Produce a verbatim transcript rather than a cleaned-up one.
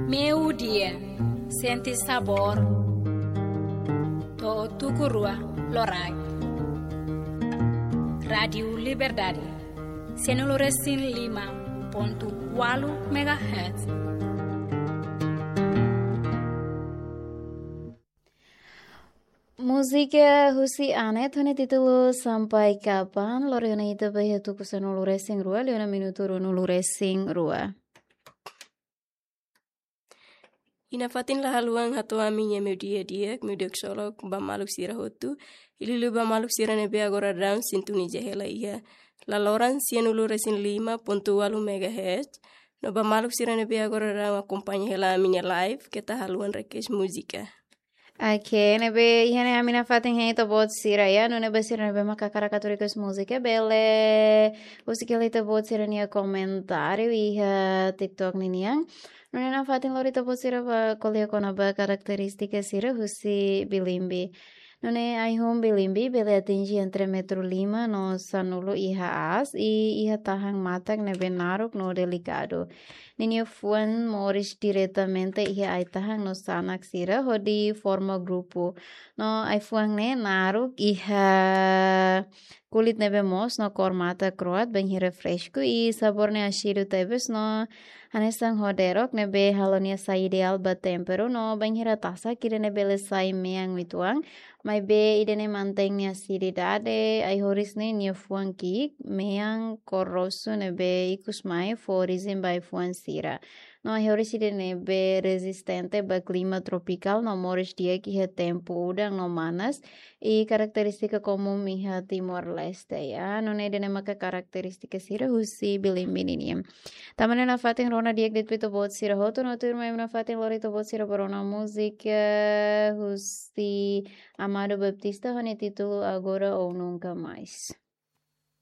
Meiudia, sente sabór. To'o tuku rua loraik. Rádiu Liberdade, sanulu-resin-lima pontu ualu megahertz. Múzika husi Anet ho nia títulu Sampai Kapan, lori ona ita ba iha tuku sanulu-resin-rua, liu ona minutu ruanulu-resin-rua. Iha nafatin la haluha hato'o ami-nia meiudia di'ak, meiudia ksolok ba maluk sira hotu, liuliu ba maluk sira ne'ebé agora daudaun sintoniza hela iha laloran sanulu-resin-lima pontu ualu megahertz, no ba maluk sira ne'ebé agora daudaun akompaña hela ami-nia live, keta haluha request múzika. Oke, ne'ebé iha ne'e ami nafatin hein ita-boot sira ya, nune'e ba sira ne'ebé mak hakarak atu request múzika, bele husik hela ita-boot sira-nia komentáriu iha TikTok ninian. Nune'e nafatin lori ita-boot sira ba ko'alia kona-ba karakterístika sira husi bilimbi. Nune'e ai-hun bilimbi bele atinje entre metru lima no sanulu iha aas, i iha tahan matak ne'ebé naruk no delikadu. Ninia fuan moris diretamente iha ai-tahan no sanak sira hodi forma grupu. No ai-fuan ne'e naruk, iha kulit ne'ebé moos no kór matan kro'at, bainhira fresku, i sabór ne'e asidu tebes no hanesan hoderok ne'ebé halo nia sai ideál ba temperu, no bainhira tasak ida-ne'e bele sai mean uitoan, maibé ida-ne'e mantein nia asididade. Ai-horis ne'e nia fuan ki'ik, mean kór rosu ne'ebé ikus mai fó orijen ba ai-fuan sira. No ai-horis ida-ne'ebé rezistente ba klima tropikál no moris di'ak iha tempu udan no manas, i karakterístika komún iha Timor-Leste ya. Nune'e ida-ne'e maka karakterístika sira husi bilimbi ninian. Tanba ne'e nafatin rona di'ak de'it ba ita-boot sira hotu, no tuirmai ami nafatin lori ita-boot sira ba rona múzika husi Amado Baptista ho nia títulu Agora ou Nunca Mais.